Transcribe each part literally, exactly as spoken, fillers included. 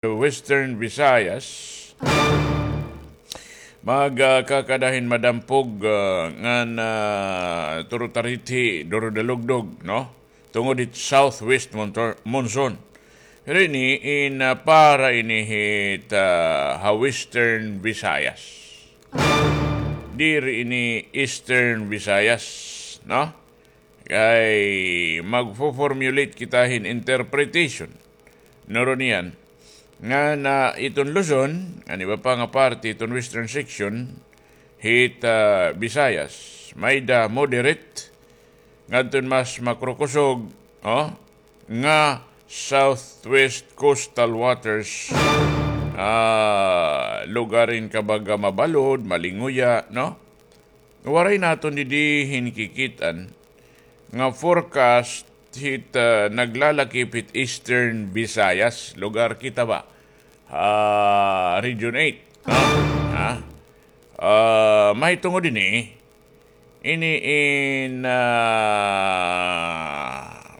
Western Visayas, magkakada hin madampog, ah, ngan, ah, turutarithi, durudalugdog, no? Tungod hit southwest montor-, monsoon. Pero ini in, ah, para ini hit, ah, ha Western Visayas. Diri ini Eastern Visayas, no? Kay magfo-formulate kita hin interpretation. Nuron iyan, ngan iton Luzon, ngan iba pa nga parte iton western section hit, ah, Visayas, may-ada moderate, ngadton mas makrukusog, oh, nga southwest coastal waters, ah, lugar hin kabaga mabalod, malinguya, no? Waray naton didi hin kikit-an nga forecast hit, ah, naglalakip hit Eastern Visayas, lugar kita ba? Ah, Region eight, no? Ha? Ah, mahitungod ini, ini in, ah,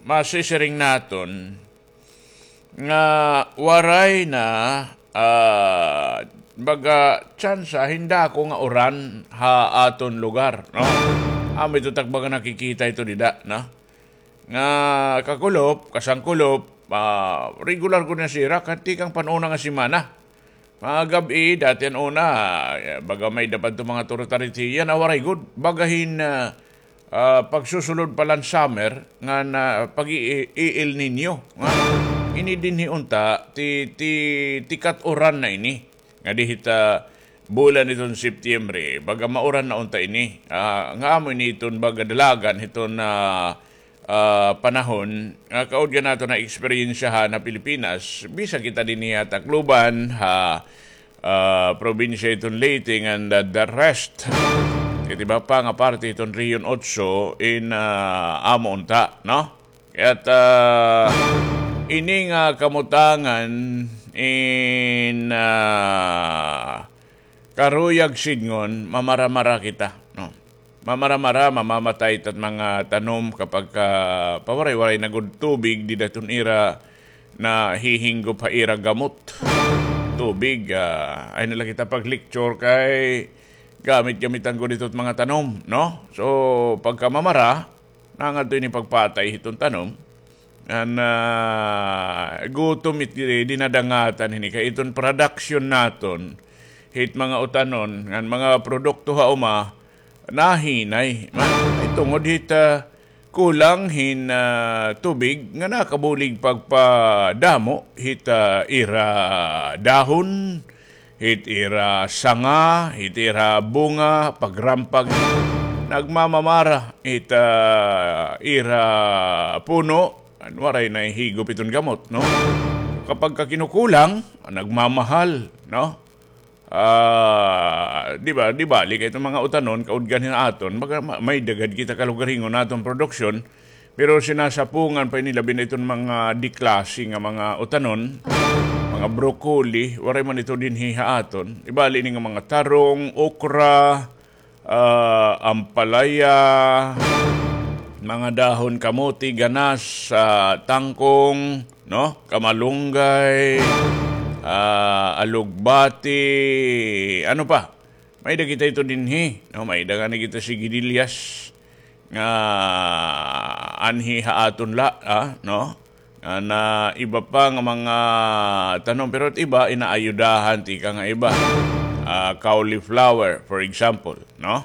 masisiring naton nga waray na, ah, baga tsansa hin dako nga uran ha aton lugar, no? Amo ito ta baga nakikita ito dida, no? Nga kakulop, kasangkulop, ah, regular gud na sirak, tikang pan-una nga semana. Mga gab-i, dati an una, eh, baga may-ada pa adto mga turutarithi, yana waray gud. Baga hin, ah, ah, pagsusulod pa la hin summer, ngan pag-i-, i-El Niño, nga ini dinhi unta, ti, ti, ti kat-uran na ini. Nga dihit, ah, bulan hiton Septiembre, baga mauran na unta ini. Ah, nga amo ini iton baga dalagan hiton, ah, ah, panahon, nga kaudgan naton na eksperyensyahan ha Pilipinas, bisan kita dinhi ha Tacloban, ha, ah, probinsya hiton Leyte, ngan the, the rest. It iba pa nga parte hiton Region Otso, in, ah, amo unta, no? Kaya't, ah, ini nga kamutangan in, ah, karuyag sidngon, mamara-mara kita, no? Mamara-mara, mamamatay it at mga tanom kapag ka pawaray-waray na gud tubig, dida hiton ira nahihinggop ha ira gamot. Tubig, ah, ayaw na la kita pag-lecture kay gamit-gamitan gud ito it mga tanom, no? So, pagka mamara, nangadto ini pagpatay hiton tanom. Ngan, ah, gutom it, eh, dinadangatan hini kay iton production naton hit mga utanon ngan mga produkto ha uma nahinay. Ma-, ay tungod hit, ah, kulang hin, ah, tubig nga nakabulig pagpadamo hit, ah, ira dahon, hit ira sanga, hit ira bunga, pagrampag, nagmamamara hit, ah, ira puno, an waray nahihigop iton gamot, no? Kapag ka kinukulang, nagmamahal, no? Ah, di ba, di bali kay iton mga utanon, kaudgan hin aton, baga ma-, may-ada gad kita kalugaringon aton produksyon, pero sinasapungan pa ini labi na iton mga diklase nga mga utanon, mga broccoli, waray man ito dinhi ha aton. Di bali ini nga mga tarong, okra, ah, ampalaya, mga dahon kamote, ganas, ah, tangkong, no? Kamalunggay, ah, alugbati, ano pa? May-ada kita ito dinhi, no? May-ada ngani kita sigidillas nga anhi ha aton la, ah, no? Ngan iba pa nga mga tanom, pero it iba inaayudahan tikang ha iba. Ah, cauliflower, for example, no?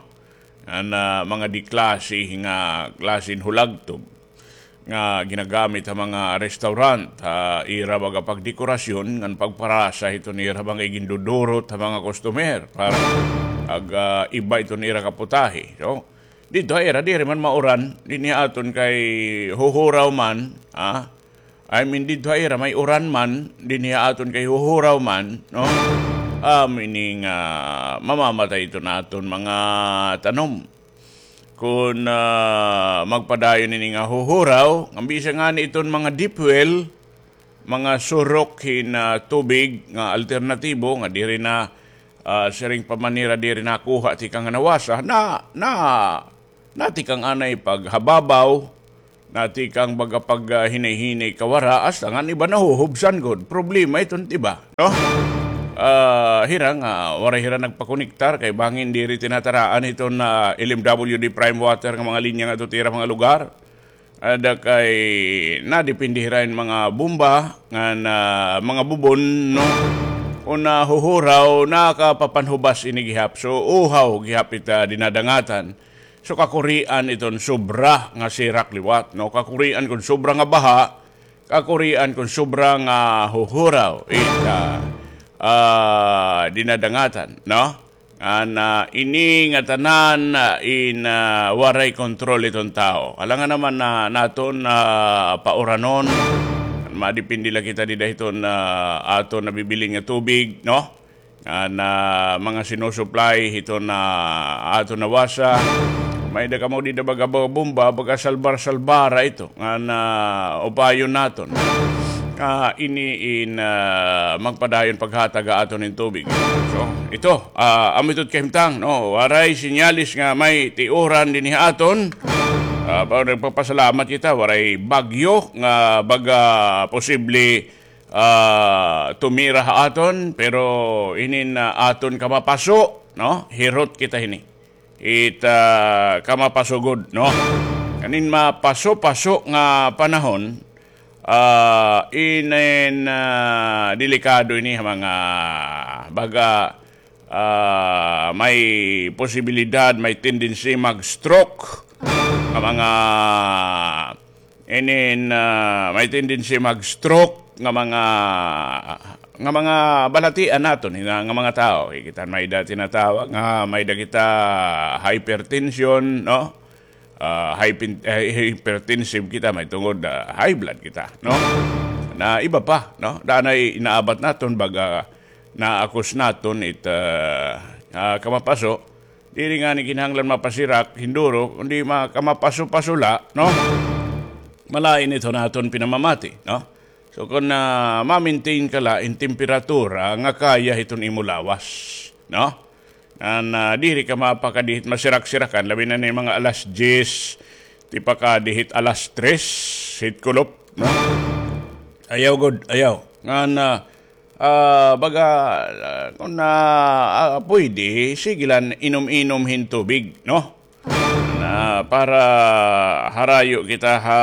Ngan mga diklase nga klase hin hulagtob nga ginagamit ha mga restaurant, ha ira baga pagdekorasyon ngan pagparasa hiton ira mga igindudurot ha mga customer para ag, ah, iba iton ira kaputahe. So, didto ha ira, diri man mauran, dinhi ha aton kay huhuraw man, ah. I mean, didto ha ira may uran man, dinhi ha aton kay huhuraw man, no? Amo ini nga mamamatay iton aton mga tanom. Kon, ah, magpadayon ini nga huhuraw, ngan bisan ngani iton mga deep well, mga surok hin, ah, tubig nga alternatibo nga diri na, ah, siring pa man nira diri nakuha tikang ha nawasa, na, na, na tikang anay paghababaw, natikang baga pag, ah, hinay-hinay kawara, hasta ngan iba nahuhubsan gud. Problema iton, di ba? No? Ah, hira nga, waray hira nagpakonektar, kay bangin diri tinataraan iton, ah, L M W D Prime Water nga mga linya nga ito tira mga lugar. Ada kay nadepende hira hin mga bomba, nga na, mga bubon, no? Kon nahuhuraw, nakapapanhubas ini gihap. So, uhaw gihap ita dinadangatan. So, kakurian iton sobra nga sirak liwat, no? Kakurian kon sobra nga baha, kakurian kon sobra nga huhuraw ita, ah, dinadangatan, no? An, ah, ini nga tanan, ah, in, ah, waray kontrol iton tawo. Alangan naman na naton, ah, pauranon, madepende la kita dida hiton, ah, aton nabibilin nga tubig, no? An, ah, mga sinusuplay hiton, ah, aton nawasa. May-ada kamo dida baga, baga bomba, baga salbar-salbara ito. Nga na upayon naton. Ah, ini in, ah, magpadayon paghatag ha aton hin tubig. So, ito, ah, amo ito kahimtang, no? Waray sinyalis nga may tiuran dinhi ha aton. Ah, pa-, nagpapasalamat kita, waray bagyo nga baga posible, ah, tumira ha aton, pero inin, ah, aton kamapaso, no? Hirot kita hini. It, ah, kamapaso gud, no? Kanin mapaso-paso nga panahon, ah, inin, ah, delikado ini ha mga baga, ah, may posibilidad, may tendency mag-stroke nga mga Inin, ah, may tendency mag-stroke nga mga, nga mga balatian naton, nga, nga mga tawo. Kita may-ada tinatawag nga may-ada kita hypertension, no? Ah, hypen-, eh, hypertensive kita, may tungod, ah, high blood kita, no? Na iba pa, no? Danay inaabat naton, baga naakos naton it, ah, ah, kamapaso, diri ngani kinahanglan mapasirak, hinduro, kundi ma-, kamapaso-paso la, no? Malain ito naton pinamamati, no? So, kon, ah, ma-maintain ka la in temperatura nga kaya hiton imo lawas, no? An, ah, diri ka mapakadihit masirak-sirakan, labi na ni mga alas diyes, tipakadihit alas tres, hit kulop, no? Ayaw gud, ayaw. Ngan, ah, Ah, baga, ah, kon na, ah, pwede, sige la inom-inom hin tubig, no? Na para harayo kita ha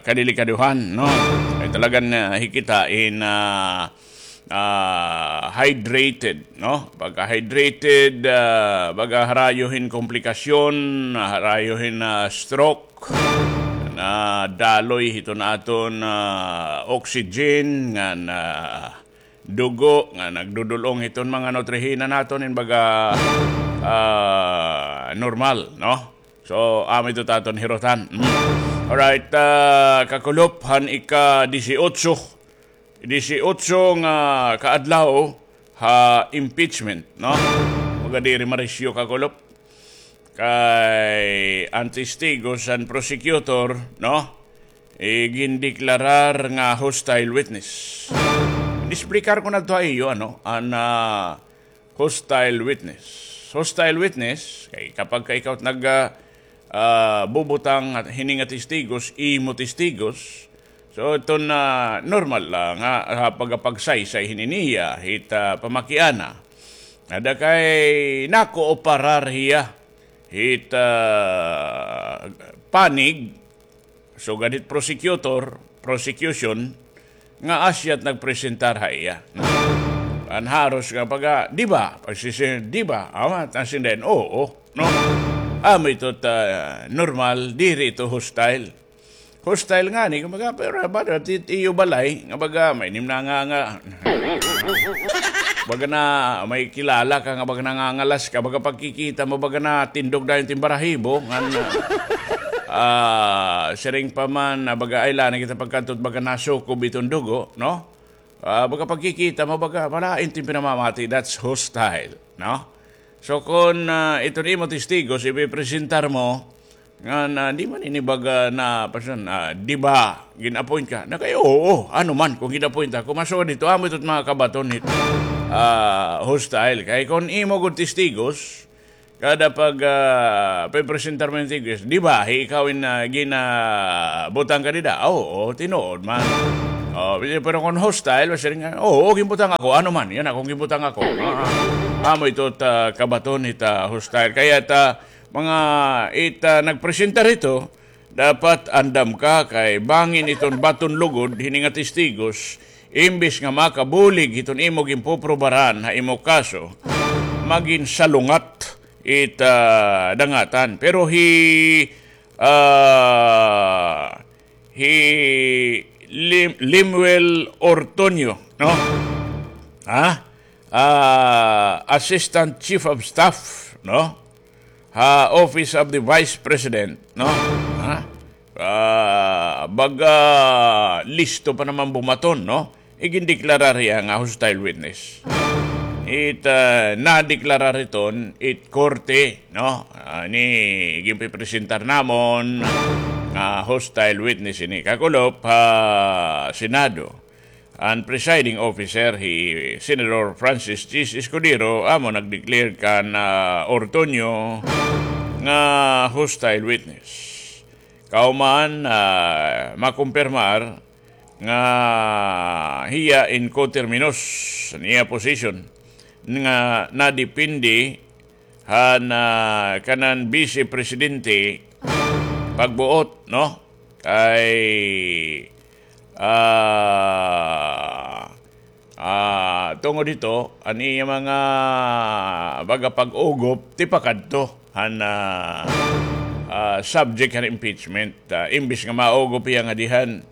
kadelikadohan, no? Ay talagan, ah, hikita in, ah, ah, hydrated, no? Pagka hydrated, ah, baga harayo hin komplikasyon, harayo hin, ah, stroke, na daloy hiton aton, ah, oxygen, ngan dugo nga nagdudul-ong hiton mga nutrihina naton in baga, ah, normal, no? So, amo ito it aton hirutan. Mm. Alright, ah, kakulop han ika-disiotso. Disiotso nga kaadlaw ha impeachment, no? Baga diri marisyo, kakulop. Kay an testigos han prosecutor, no? Igindeklarar nga hostile witness. Inexplikar ko na ito ha iyo, ano, an, ah, hostile witness. Hostile witness, kay kapag ka ikaw nag, ah, ah, bubutang hini nga testigos, imo testigos, so, iton, ah, normal la nga, ah, pagapagsaysay hini niya, hit, ah, pamakiana. Ada kay nakooparar hiya hit, ah, panig, sugad hit prosecutor, prosecution, nga asya it nagpresentar ha iya. An haros nga pag, ah, di ba? Pagsisi, di ba? Awa, tasin din, oo, no? Amo ito it, ah, normal, diri ito hostile. Hostile ngani, kumbaga, pero ba, it iyo balay, nga baga, may nim na nga, nga, baga na, may kilala ka, nga baga nangangalas ka, baga pagkikita mo, baga natindog dayon it im balahibo, ngan, ah, siring pa man, ah, baga, ay, la na kita pagkadto, baga nasukob iton dugo, no? Ah, baga pagkikita mo, baga, malain it im pinamamati, that's hostile, no? So, kon, ah, iton imo testigos, ipipresentar mo, nga na, di man ini baga na, pasan, ah, di ba, gin-appoint ka? Na kay, oo, ano man, kon gin-appoint ako, masugad ito, amo ito it mga kabaton hit, ah, hostile. Kay kon imo gud testigos, Kada pag, ah, pagpresentar mo hin Tigos, di ba, hi ikaw in, ah, ginabutang ka dida? Ah, oo, tinuod man. Oh, pero kon hostile, basta nga, oo, ginbutang ako, ano man, yana kon ginbutang ako. Ah, ah. Amo ito ta kabaton hit, ah, hostile. Kaya ta, mga it, ah, nagpresentar hito, dapat andam ka kay bangin iton baton lugod hini nga testigos, imbis nga makabulig hiton imo ginpoprobaran ha imo kaso, magin salungat it, ah, dangatan. Pero hi, ah, hi Lim-, Lemuel Ortuño, no? Ha? Ah, Assistant Chief of Staff, no? Ha Office of the Vice President, no? Ha? Ah, baga listo pa naman bumaton, no? Igindeklarar hiya nga hostile witness. It, ah, nadeklarar iton it korte, no? Ah, ini ginpipresentar namon nga hostile witness ini kakulop ha Senado. An presiding officer, hi Senador Francis Chiz Escudero, amo nagdeclare kan, ah, Ortuño nga hostile witness. Kauman, ah, makumpirmar nga hiya in coterminous niya position nga nadepende han, ah, kanan Vice Presidente pagbuot, no? Kay, ah, ah, tungod hito, an iya mga baga pag-ugop, tipakadto han, ah, ah, subject han impeachment. Ah, imbis nga maugop hiya nga dihan,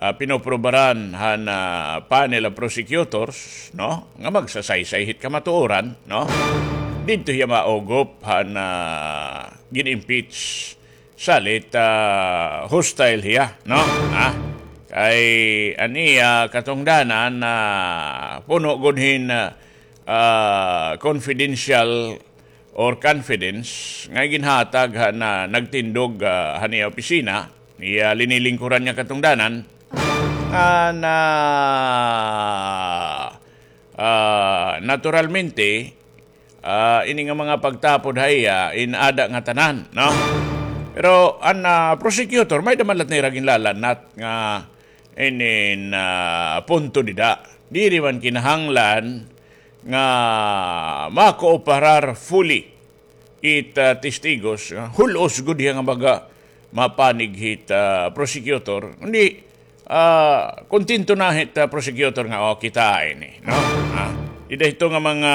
ah, pinoprobaran han, ah, panel of prosecutors, no? Nga magsasaysay hit kamatuoran, no? Didto hiya maugop han, ah, gin-impeach. Salit, ah, hostile hiya, no? Ha? Kay an iya katungdanan na puno gud hin, ah, confidential or confidence nga ginhatag han, ah, nagtindog, ah, han iya opisina, iya linilingkuran nga katungdanan, nga na, ah, naturalmente, ah, ini nga mga pagtapod ha iya, in-ada nga tanan, no? Pero an, ah, prosecutor, may-ada man la nira ginlalanat nga inin, ah, punto dida. Diri man kinahanglan nga makooperar fully it, ah, testigos, ah, hul-os gud hiya nga baga mapanig hit, ah, prosecutor. Kundi, ah, kontento na hit, ah, prosecutor nga, "O, kita ini," no? Ah, dida hito nga mga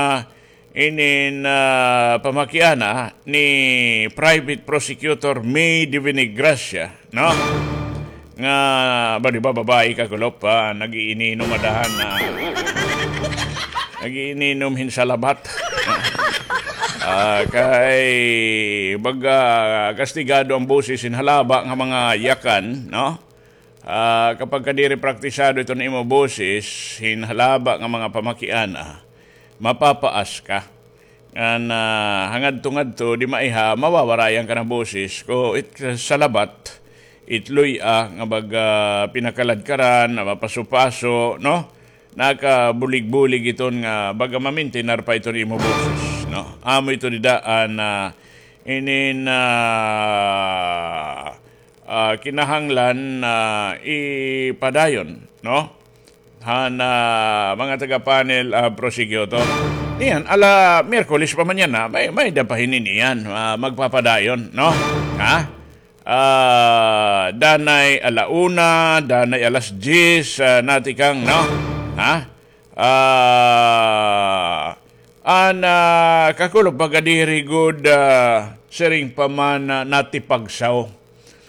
inin, ah, pamakiana ni Private Prosecutor May de Vinegracia, no? Nga, ba, di ba, babayi kakulop, ah, nag-iininom adahan na, nag-iininom hin salabat. Ah, kay, baga, kastigado an boses hin halaba nga mga yakan, no? Ah, kapag ka diri praktisado iton imo boses hin halaba nga mga pamakiana, mapapaas ka. Ngan, ah, hangadto-ngadto, di maiha, mawawarayan ka na boses. Ko it salabat, it luy-a nga baga pinakaladkaran, nga mapaso-paso, no? Nakabulig-bulig iton nga baga mamintinar pa iton imo boses, no? Amo ito dida an, ah, inin, ah, ah, kinahanglan, ah, ipadayon, no? Han, ah, mga taga-panel, ah, prosecutor. Niyan, ala Miyerkules pa man yana, may, may-ada pa hini niyan, ah, magpapadayon, no? Ha? Ah, danay ala una, danay alas diyes, ah, natikang, no? Ha? Ah, an, ah, kakulop baga diri gud, ah, siring pa man, ah, natipagsaw.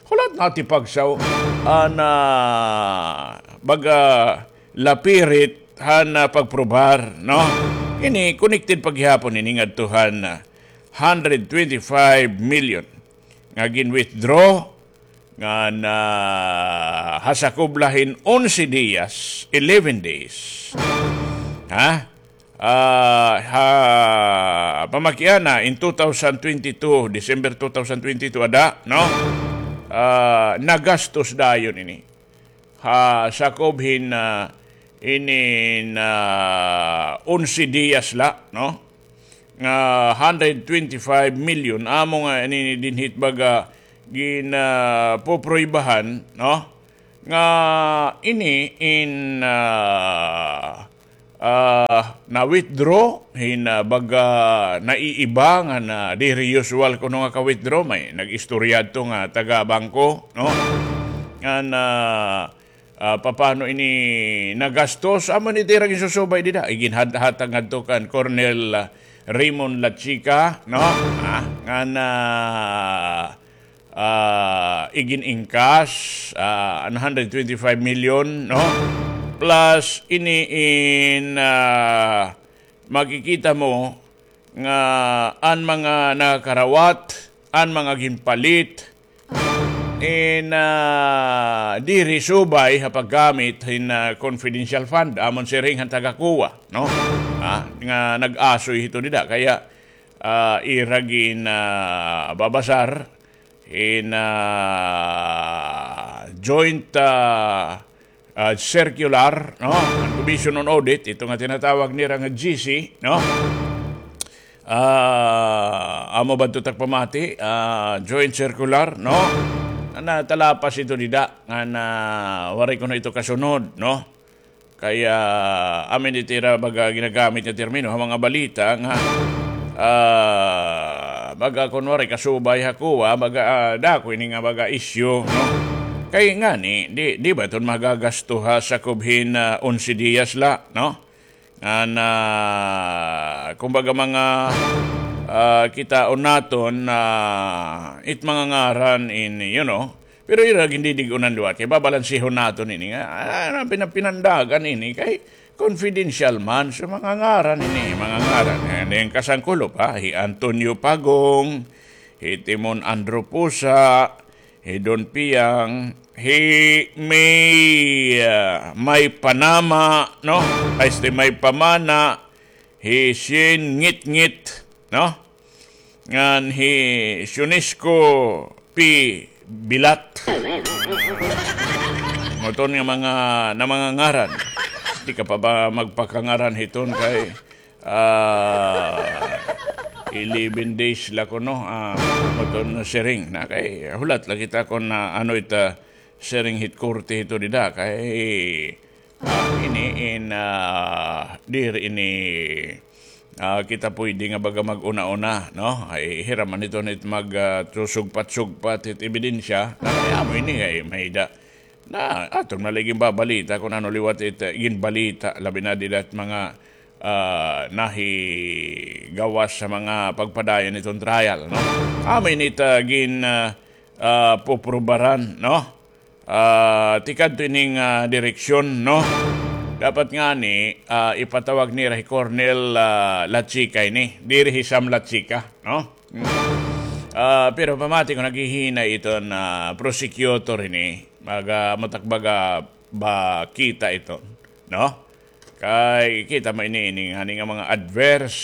Hulat natipagsaw. An, ah, baga lapirit han, ah, pagprobar, no? Ini connected pa gihapon ini ngadto han, ah, hundred twenty-five million nga gin-withdraw ngan ha sakob la hin onse diyas, eleven days. Ha? Ah, ha pamakiana in two thousand twenty-two, December two thousand twenty-two ada, no? Ah, nagastos dayon ini. Ha sakob hin, ah, inin, ah, onse diyas la, no? nga hundred twenty-five million, amo nga ini dinhi it baga gin, ah, puproybahan, no? Nga ini in, ah, ah, na-withdraw hin, ah, baga naiiba nga na diri usual kuno nga ka-withdraw. May nag-istorya adto nga taga-bangko, no? Nga na, ah, papano ini nagastos? Amo ini it ira ginsusubay dida. Iginhatag ngadto kan Colonel, ah, Raymond Lachica, no? Ah, nga na, ah, igin-ingkas, ah, an hundred twenty-five million, no? Plus, ini in, ah, makikita mo nga an mga nakarawat, an mga ginpalit, in, ah, diri subay ha paggamit hin, ah, confidential fund, amon siring han taga-COA, no? Ah, nga nag-asoy hito dida. Kaya, ah, ira gin, ah, babasar in, ah, joint, ah, ah, circular, no? An Commission on Audit, ito nga tinatawag nira nga G C, no? Ah, amo ba ito tagpamati? Ah, joint circular, no? Natalapas ito dida, nga na waray kuno ito kasunod, no? Kaya, amin it ira baga ginagamit nga termino ha mga balita nga, ah, baga kun waray kasubay ha COA, baga, ah, dako ini nga baga issue, no? Kay ngani, di, di ba iton magagasto ha sakob hin, ah, onse diyas la, no? Nga na, kumbaga mga, ah, kitaon naton na it mga ngaran ini, you know, pero ira gindidig-unan liwat kay babalansihon naton ini nga, ah, pina-, pinandagan ini kay confidential man. So, mga ngaran ini, mga ngaran. Nga ini kasangkulop, ha? Hi Antonio Pagong, hi Timon Andrew Pusa, hi Don Piang, hi May, ah, May Panama, no? Ay, este, May Pamana, hi Shane Ngitngit, no? Ngan hi Sionisco P. Bilat. Amo iton nga mga, na mga ngaran. Di ka pa ba magpakangaran hiton kay, ah, eleven days la kuno, ah, amo iton siring na kay hulat la kita kun, ah, ano ita siring hit korte hito dida kay, ah, ini in, ah, diri ini, ah, kita pwede nga baga mag-una-una, no? Ay, hira man iton hit mag, ah, sugpat-sugpat hit ebidensya. Na kay amo ini kay may da. Na, aton man la ginbabalita kun ano liwat it, ah, ginbalita, labi na dida it mga, ah, nahigawas ha mga pagpadayon hiton trial, no? Amo ini it, ah, gin, ah, ah, puprubaran, no? Ah, tikadto ining, ah, direksyon, no? Dapat ngani, ah, ipatawag nira hi Colonel, ah, Lachica ini. Diri hi Sam Lachica, no? Hmm. Ah, pero pamati ko naghihinay iton, ah, prosecutor ini. Maga-, matakbaga ba kita iton, no? Kay kita man ini, ini, ngani nga mga adverse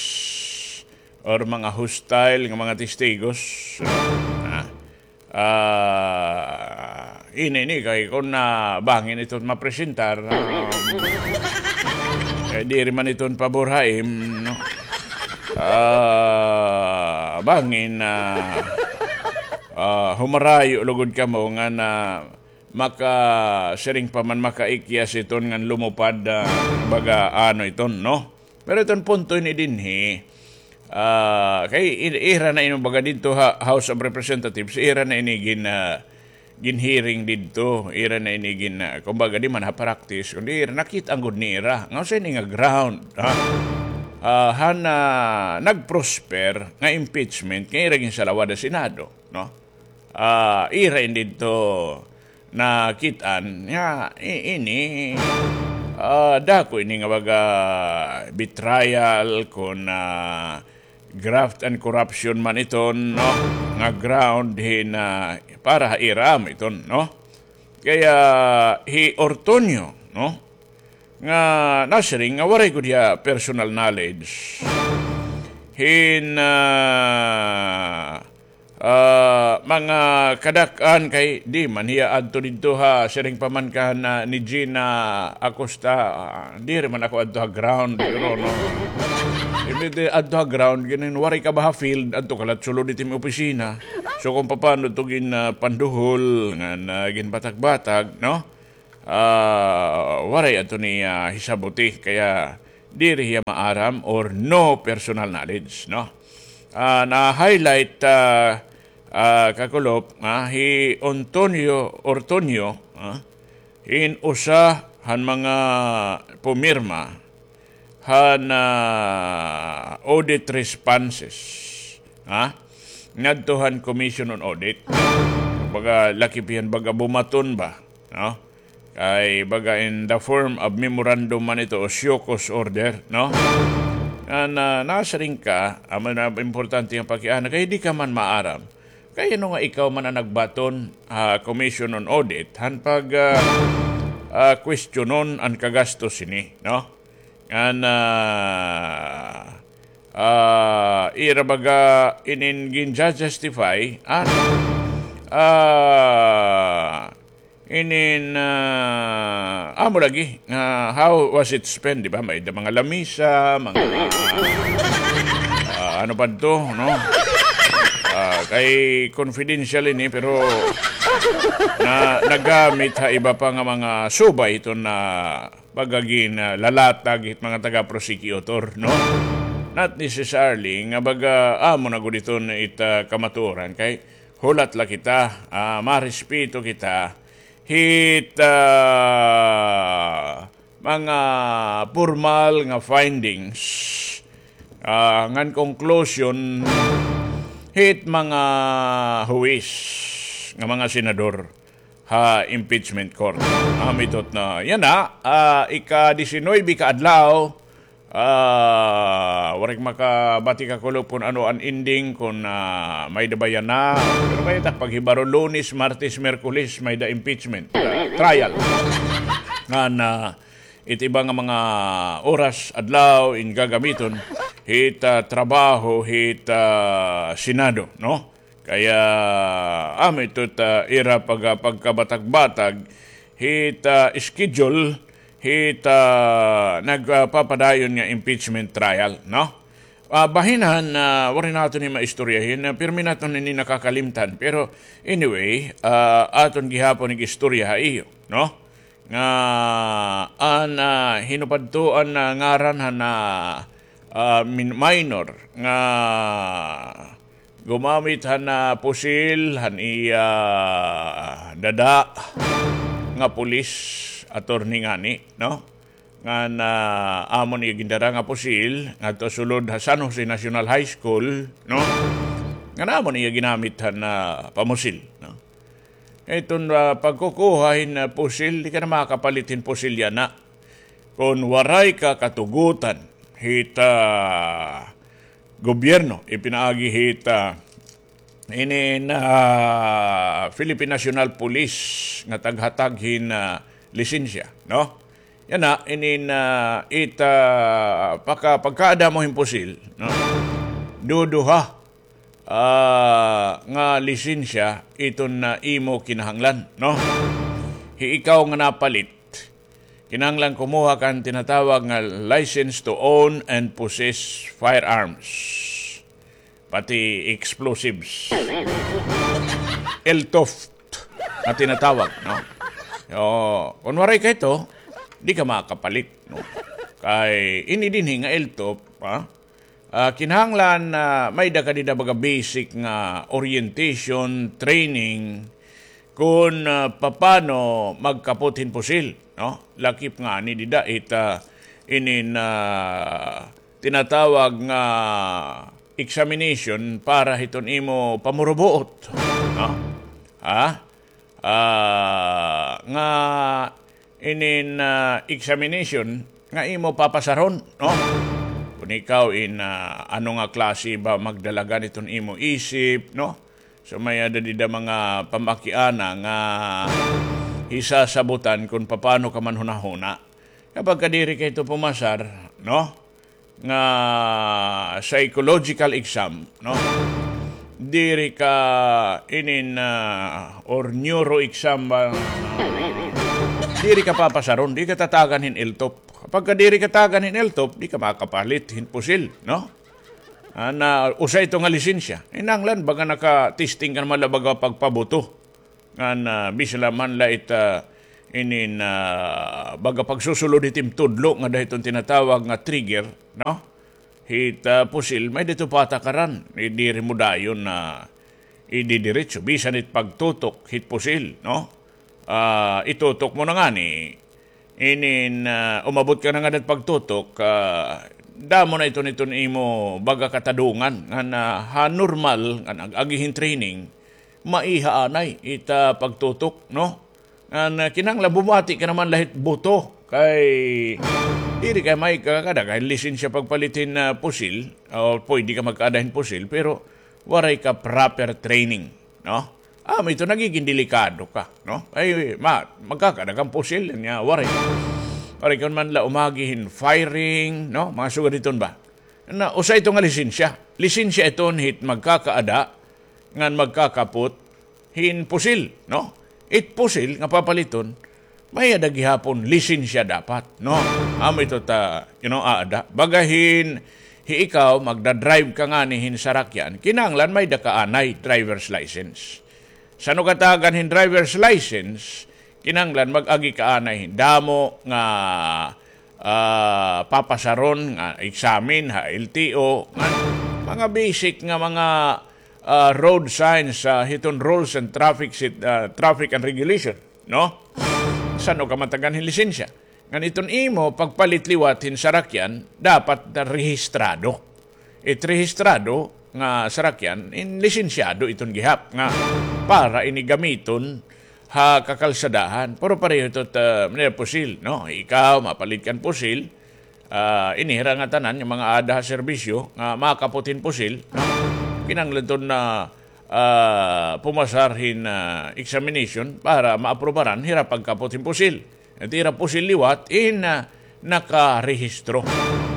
or mga hostile nga mga testigos, no? Ah, Ah, ini, ini, kay kun, ah, bangin iton mapresentar, ah, kay diri man iton pabor ha im, no? Ah, bangin, ah, ah, humarayo lugod kamo ngan maka-, siring pa man, makaikyas iton ngan lumupad, ah, baga ano iton, no? Pero iton punto ini dinhi, ah, kay i-, ira na ini baga didto ha House of Representatives, ira na ini gin-, ah, gin-hearing didto, ira na ini gin-, ah, kumbaga di man ha practice, kundi ira, nakit-an gud nira nga usa ini nga ground, ha? Ah, han, ah, nag-prosper nga impeachment nga ira ginsalawad ha Senado, no? Ah, ira ini didto nakit-an nga i-, ini, ah, dako ini nga baga betrayal kon, ah, graft and corruption man iton, no? Nga ground hin, ah, para ha ira man iton, no? Kaya hi Ortonio, no? Nga nasiring nga waray gud hiya personal knowledge hin, ah, Ah, mga kadak-an kay di man hiya adto didto ha, siring pa man kan, ah, ni Gina Acosta, ah, diri man ako adto ha ground, pero no. Imbes di adto ha ground, ginin waray ka ba ha field, adto ka la sulod hit imo opisina. So kung papaano to gin, ah, panduhol, ngan, ah, ginbatag-batag, no? Ah, waray adto ni, ah, hisabuti, kaya diri hiya maaram or no personal knowledge, no? Ah, na-highlight, ah, ah, kakulop, ah, hi Antonio Ortonio, ah, hin usa han mga pumirma han, ah, audit responses, ha? Ngadto han Commission on Audit. Baga lakip hiyan, baga bumaton ba, no? Kay baga in the form of memorandum man ito o show cause order, no? Ngan, ah, nasiring ka, amo na importante nga pakiana, kay di ka man maaram. Kay ano nga ikaw man an nagbaton ha Commission on Audit, han pag, ah, ah, kwestiyonon an kagastos hini, no? Ngan, ah, ah, ira baga inin gin-justify, ah, ah, inin, ah, amo lagi, nga how was it spent, di ba? May da mga lamisa, mga, ah, ano pa to, no? Ah, kay confidential ini, pero na, nagamit ha iba pa nga mga subay ito na pagagin, ah, lalatag hit mga taga-prosecutor, no? Not necessarily nga baga amo na gud iton it, ah, kamatuoran kay hulat la kita, ah, marespeto kita hit, ah, mga pormal nga findings, ah, ngan conclusion hit mga huwis nga mga senador ha impeachment court. Amo ito na, yana, ah, ika-disinuybe ka adlaw, ah, waray makabati kakulop kon ano an ending, kon, ah, may-ada ba yana. Pero kay it ak paghibaro, Lunes, Martes, Miyerkules, may-ada impeachment, ah, trial. Ngan, ah, it iba nga mga oras, adlaw, in gagamiton hit, ah, trabaho hit, ah, Senado, no? Kaya, amo ito it, ah, ira pag-, pagkabatag-batag hit, ah, schedule hit, ah, nagpapadayon nga impeachment trial, no? Ah, bahin han, ah, waray naton ini maistoryahin, ah, pirmi naton ini nakakalimtan. Pero anyway, ah, aton gihapon ig-istorya ha iyo, no? Nga an, ah, hin-o pa adto an, ah, ngaran han, ah, ah, min-, minor nga gumamit han, ah, pusil han iya dada nga pulis attorney ngani, no? Ngan, ah, amon iya gindara nga pusil ngadto sulod ha San Jose National High School, no? Ngan amon iya ginamit han, ah, pamusil, no? Iton, ah, pagkukuha hin, ah, pusil, di ka na makapalit hin pusil yana kon waray ka katugotan hit, ah, gobyerno, ipinaagi hit, ah, inin, ah, Philippine National Police nga taghatag hin, ah, lisensya, no? Yana, inin, ah, it, ah, pagka-, pagkaada mo hin pusil, no? Duduha, ah, nga lisensya iton, ah, imo kinahanglan, no? Hi ikaw nga napalit, kinahanglan kumuha ka han tinatawag nga license to own and possess firearms. Pati explosives. L TOF nga tinatawag, no? O, kon waray ka hito, di ka makapalit, no? Kay ini dinhi nga L TOF, ha? Ah, kinahanglan, ah, may-ada ka dida baga basic nga orientation, training, kon, ah, papano magkapot hin pusil, no? Lakip ngani dida it, ah, inin, ah, tinatawag nga examination para hiton imo pamurubuot, no? Ha? Ah, nga inin, ah, examination nga imo papasahon, no? Kon ikaw in, ah, ano nga klase ba magdalagan iton imo isip, no? So, may-ada dida mga pamakiana nga hisasabutan kon papaano ka manhunahuna. Kapag ka diri ka hito pumasar, no? Nga psychological exam, no? diri ka inin, ah, or neuro exam ba? Diri ka papasaron, di ka tatagan hin LTOPH. Pagka diri ka tagan hin LTOPH, di ka makapalit hin pusil, no? An, ah, usa ito nga lisensya. Kinahanglan baga naka-testing ka naman la baga pagpabuto. Ngan, ah, bisan la man la it, ah, inin, ah, baga pagsusulod hit im tudlo nga dida hiton tinatawag nga trigger, no? Hit, ah, pusil, may-ada ito patakaran. Di, diri mo dayon na ididiretso. Bisan it pagtutok hit pusil, no? Ah, itutok mo na ngani, inin, ah, umabot ka na ngada hit pagtutok, ah, damo na iton, iton imo baga katadungan ngan ha normal nga nag-agi hin training, maiha anay it, ah, pagtutok, no? Ngan, ah, kinahanglan bumati ka naman la hit buto kay diri ka makakaada hin lisensya pagpalit hin, ah, pusil, o pwede ka magkaada hin pusil, pero waray ka proper training, no? Amo ito, nagigin delikado ka, no? Ay, ma-, magkakaada ka hin pusil, nya, waray. Waray ka man la umagi hin firing, no? Mga sugad hiton ba? Na, usa ito nga lisensya. Lisensya iton hit magkakaada, ngan magkakapot, hin pusil, no? It pusil nga papaliton, may-ada gihapon lisensya dapat, no? Amo ito ta, you know, aada. Baga hin, hi ikaw, magda-drive ka ngani hin sarakyan, kinahanglan may-ada ka anay driver's license. San-o ka tagan hin driver's license, kinahanglan mag-agi ka anay hin damo nga, ah, papasaron nga exam ha L T O, nga mga basic nga mga, ah, road signs, ah, hiton rules and traffic sit-, ah, traffic and regulation, no? San-o ka man tagan hin lisensya. Ngan iton imo pagpalit liwat hin sarakyan, dapat na rehistrado. It rehistrado nga sarakyan, in lisensyado iton gihap nga para ini gamiton ha kakalsadahan. Pero pareho ito ta, manira pusil, no? Ikaw, mapalit ka hin pusil, ah, ini hira nga tanan, nga mga aada ha serbisyo, nga makapot hin pusil, no? Kinahanglan iton na, ah, pumasar hin, ah, examination para maaprubaran hira pagkapot hin pusil. It ira pusil liwat in, ah, nakarehistro.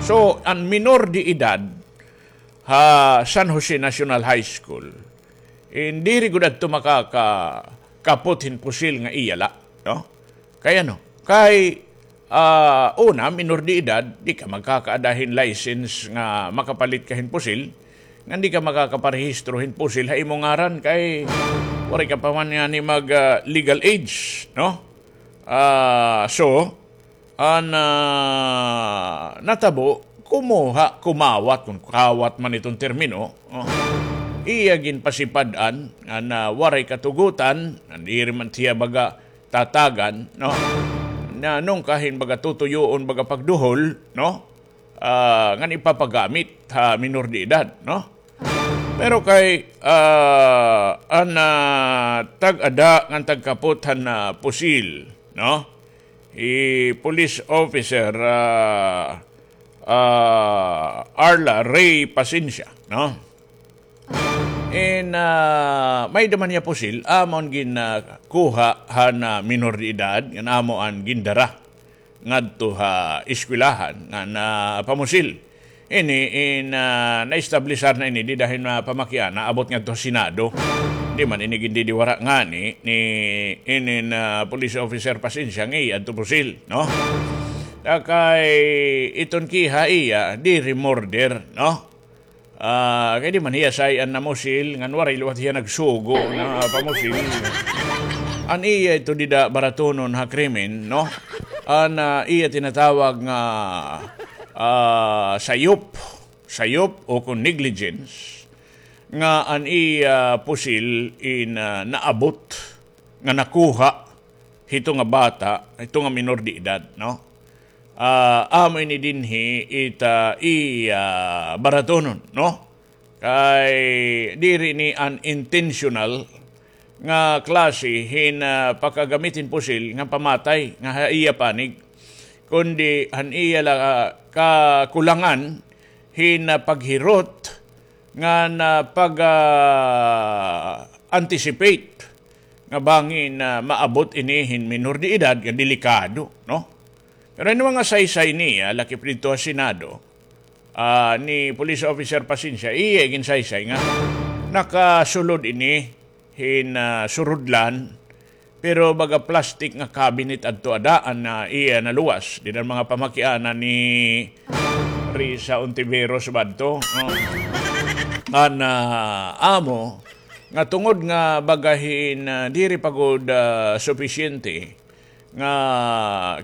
So, an minor de edad ha San Jose National High School, in diri gud adto makakapot hin pusil nga iya la, no? Kay ano? Kay, ah, una, minor de edad, di ka magkakaada hin license nga makapalit ka hin pusil, ngan di ka makakaparehistro hin pusil ha imo ngaran kay waray ka pa man ngani mag, ah, legal age, no? Ah, so, an, ah, natabo, kumuha, kumawat, kon kawat man iton termino, oh, iya ginpasipad-an, an, ah, waray katugotan, an diri man siya baga tatagan, no? Na nungkahin baga tutuyoon, baga pagduhol, no? Ah, ngan ipapagamit ha minor de edad, no? Pero kay, ah, an, ah, tag-ada ngan tagkapot han, ah, pusil, no? Hi police officer, ah, ah, Arla Ray Pasensia, no? In, ah, may-ada man hiya pusil, amo an gin, ah, kuha han, ah, minor de edad, ngan amo an gindara ngadto ha eskwelahan ngan pamusil. Ini in, ah, naestablisar na ini dida hin, ah, pamakiana, abot ngadto ha Senado. Di man ini gindidiwara ngani ni inin, ah, police officer Pasensia nga iya adto pusil, no? Kay iton kiha iya, diri murder, no? Ah, kay di man hiya say-an namusil, ngan waray liwat hiya nagsugo na pamusil. An iya ito dida baratonon ha krimen, no? An, ah, iya tinatawag nga, ah, sayop, sayop o kon negligence, nga an iya pusil in, ah, naabot nga nakuha hito nga bata, hito nga minor de edad, no? Ah, amo ini dinhi it, ah, iya baratonon, no? Kay diri ini an intentional nga klase hin, ah, pagkagamit hin pusil nga pamatay nga ha iya panig, kundi han iya la, ah, kakulangan hin, ah, paghirot ngan pag, ah, anticipate nga bangin, ah, maabot ini hin minor de edad nga delikado, no? Pero ini mga saysay niya, lakip didto ha Senado, ah, ni Police Officer Pasensia, iya ginsaysay nga Nakasulod ini hin, ah, surudlan, pero baga plastic nga cabinet adto ada an, ah, iya naluwas. Dida an mga pamakiana ni Risa Ontiveros ba adto, no? An, ah, amo nga tungod nga baga hin, ah, diri pa gud, ah, supisyente nga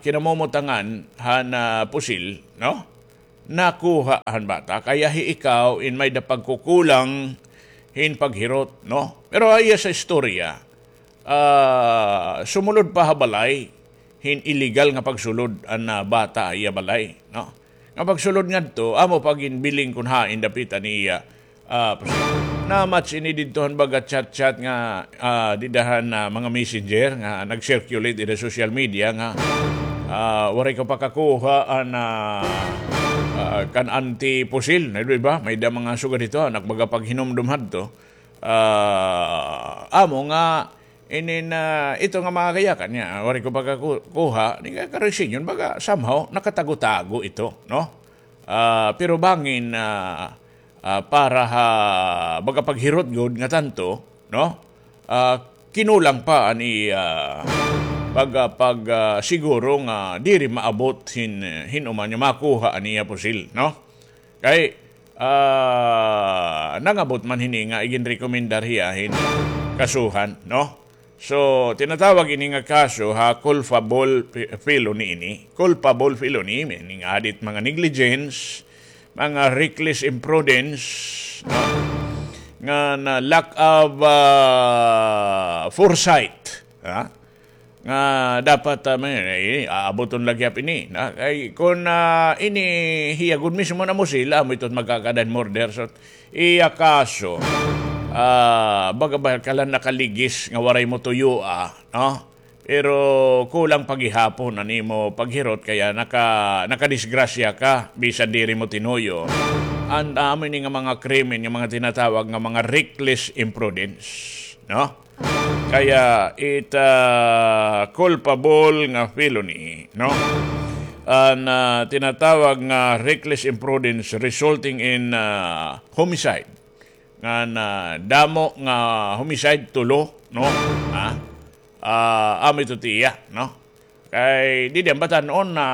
kinamumutangan han, ah, pusil, no? Nakuha han bata, kaya hi ikaw in may-da pagkukulang hin paghirot, no? Pero ha iya sa istorya, ah, sumulod pa ha balay hin illegal nga pagsulod an, ah, bata ha iya balay, no? Nga pagsulod ngadto, amo pa ginbiling kon hain dapita niya, ah, na-match ini didto han baga chat-chat nga, ah, dida han, ah, mga messenger nga nag-circulate dida social media nga, ah, waray ka pakakuha an, ah, ah, kan Auntie Pusil, na, di ba? May-da mga sugad hito, nagbaga paghinumdom hadto. Ah, amo nga, inin, ah, ito nga mga kayakan niya, waray ko pagkakuha, ni ka-, karesignon, baga somehow, nakatago-tago ito, no? Ah, pero bangin, ah, ah, para ha, baga paghirot gud nga tanto, no? Ah, kinulang pa an iya, baga pag, ah, siguro nga diri maabot hin, hin-o man nga makuha an iya pusil, no? Kay, ah, nangabot man hini nga iginrekomendar hiya hin kasuhan, no? So, tinatawag ini nga kaso ha culpable fe-, felony ini. Culpable felony, meaning add it mga negligence, mga reckless imprudence, no? Nga na lack of, ah, foresight, ha? Nga dapat, ah, may, eh, aaboton la gihap ini, na, kay kon, ah, ini hiya gud mismo namusil, amo ito magkakadan murder. So, iya kaso, ah, baga ba ka la nakaligis nga waray mo tuyoa, no? Pero kulang pa gihapon an imo paghirot kaya naka-, nakadisgrasya ka, bisan diri mo tinuyo. An amo ini nga mga krimen, nga mga tinatawag nga mga reckless imprudence, no? Kaya it, ah, culpable nga felony, no? An, ah, tinatawag nga reckless imprudence resulting in, ah, homicide. Ngan, ah, damo nga homicide, tulo, no? Ha? Ah, amo ito tiya, no? Kay didi an batan-on na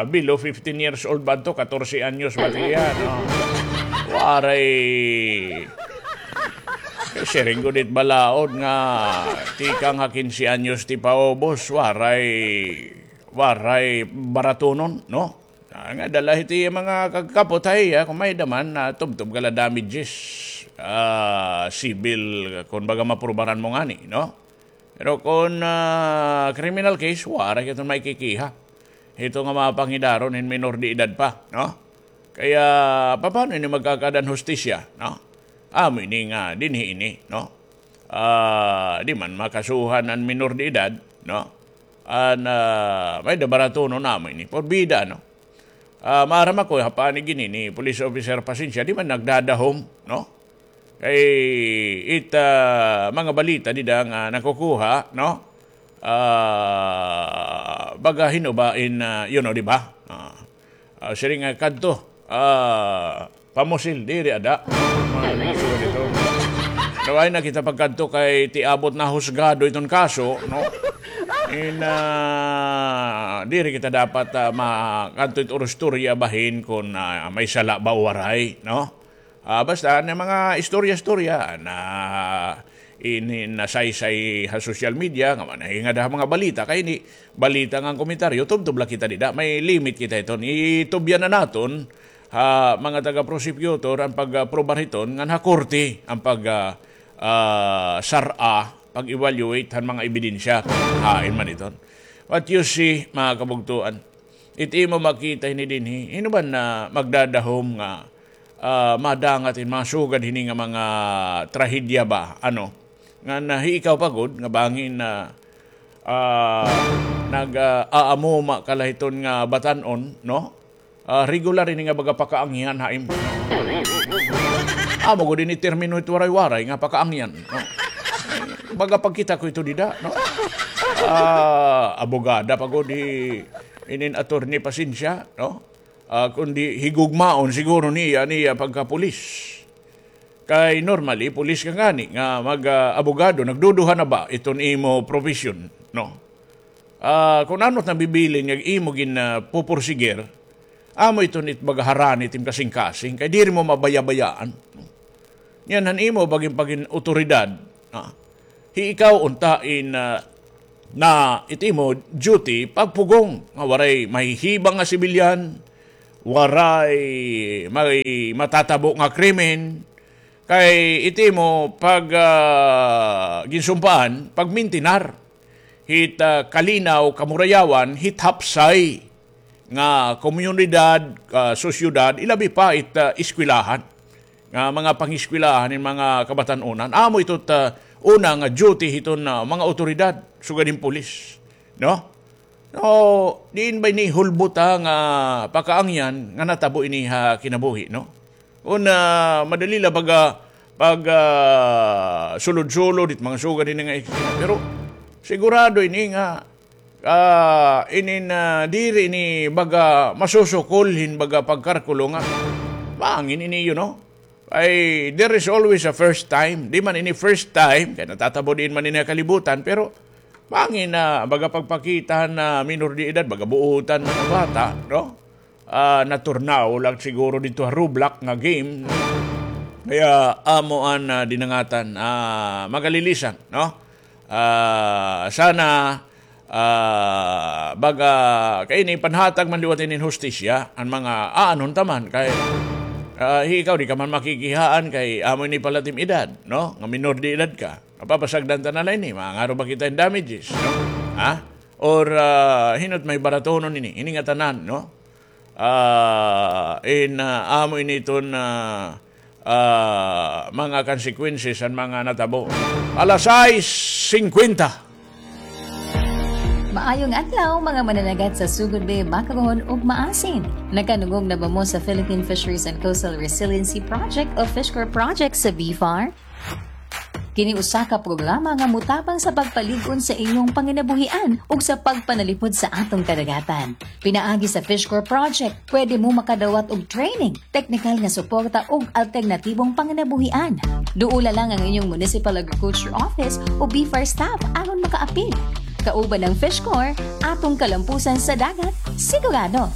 below fifteen years old ba adto, katorse anyos ba tiya, no? Waray. Kay siring gud it balaod nga tikang ha kinse anyos ti paubos, waray, waray baratunon, no? Ah, nga dala hiti mga kagkapot ha iya, kon may-ada man, ah, tubtob ka la damages, ah, civil, kon baga maprubaran mo ngani, no? Pero kon, ah, criminal case, waray ka iton maikikiha. Hito nga mga pangidaron hin minor de edad pa, no? Kaya, papaano ini magkakadan hustisya, no? Amo ini nga, dinhi ini, no? Ah, di man makasuhan an minor de edad, no? An, ah, may-ada baratunon amo ini. Porbida, no? Ah, maaram ako, ha panig ini ni Police Officer Pasencia, di man nagdadahom, no? Kay it, ah, mga balita dida nga nakukuha, no? Ah, baga hin-o ba in, ah, you know, di ba? Ah, ah, siring nga kadto, ah, pamusil, diri ada. Mga gusto ko dito. Daw ay nakita pagkadto kay ti abot na husgado iton kaso, no? In, ah, diri kita dapat, ah, ma-, kadto it urustorya bahin kon, ah, may sala ba o waray, no? Ah, basta, an mga istorya-istorya na ini nasaysay ha social media, nga manahingad ha mga balita, kay ini balita nga komentaryo, tubtob la kita dida, may limit kita iton. Itubyan na naton ha mga taga-prosecutor an pag-aprobar hiton, ngan ha korte an pag, ah, ah, sar-a, pag-evaluate han mga ebidensya, hain man iton. What you see, mga kabugtuan, it imo makita hini dinhi, hin-o ba na magdadahom nga ah, madangat in mga sugad hini nga mga trahedya ba, ano? Ngan hi ikaw pa gud nga bangin na, ah, nag, ah, aamuma ka la hiton nga batan-on, no? Ah, regular ini nga baga pakaangyan ha imo. Amo gud ini termino hit Waray-Waray nga pakaangyan, no? Baga pagkita ko ito dida, no? Ah, abogada pa gud hi inin Attorney Pasencia, no? Ah, kundi higugmaon siguro niya an iya pagkapulis. Kay normally, pulis ka ngani nga mag, ah, abogado, nagduduha na ba iton imo profesyon, no? Ah, kun ano it nabibilin nga imo gin, ah, pupursigir, amo iton it baga harani it im kasingkasing, kay diri mo mabaya-bayaan. Ngan han imo ba gin pagin awtoridad, ah, hi ikaw unta in, ah, na it imo duty pagpugong nga waray mahihibang nga sibilyan, waray may matatabo nga krimen, kay it imo pag, ah, ginsumpaan, pagmintinar hit, ah, kalinaw, kamurayawan hit hapsay nga komunidad, ah, sosyedad, ilabi pa it, ah, eskwelahan, nga mga pangeskwelahan hin mga kabatan-onan. Amo ito it, ah, una nga duty hiton, ah, mga awtoridad, sugad hin pulis, no? No, diin ba ini hulbot, ha, nga pakaangyan nga natabo ini ha kinabuhi, no? Kun, ah, madali la baga pag, ah, sulod-sulod it mga sugad ini nga eksena. Pero sigurado ini nga, ah, inin, ah, diri ini baga masusukol hin baga pagkarkulo nga bangin ini, you know? Ay, there is always a first time. Di man ini first time, kay natatabo diin man ini ha kalibutan, pero bangin na baga pagpakita han minor de edad, baga buotan man nga bata, no? Ah, naturnaw la siguro didto ha Roblox nga game. Kaya amo an, ah, dinangatan, ah, magalilisan, no? Ah, sana, ah, baga, kay ini panhatag man liwat ini hin hustisya, an mga aanhon ta man, kay, ah, hi ikaw, di ka man makikihaan, kay amo ini pala it im edad, no? Nga minor de edad ka. Mapapasagdan ta na la ini, mangaro ba kita hin damages, no? Ha? Or, ah, hin-o it may baratonon ini, ini ngatanan, no? Ah, in, ah, amo ini iton, ah, ah, mga consequences han mga natabo. Alas sais singkwenta. Maayong adlaw, mga mananagat sa Sugod Bay, Makaron ug Maasin. Nakadungog na ba mo sa Philippine Fisheries and Coastal Resiliency Project o Fishcore Project sa BFAR? Kini usa ka programa nga motabang sa pagpalig-on sa inyong panginabuhian ug sa pagpanalipod sa atong kadagatan. Pinaagi sa Fishcore Project, pwede mo makadawat og training, teknikal nga suporta ug alternatibong panginabuhian. Duola lang ang inyong Municipal Agriculture Office o BFAR staff aron makaapil. Kauban ang Fishcore, atong kalampusan sa dagat, sigurado.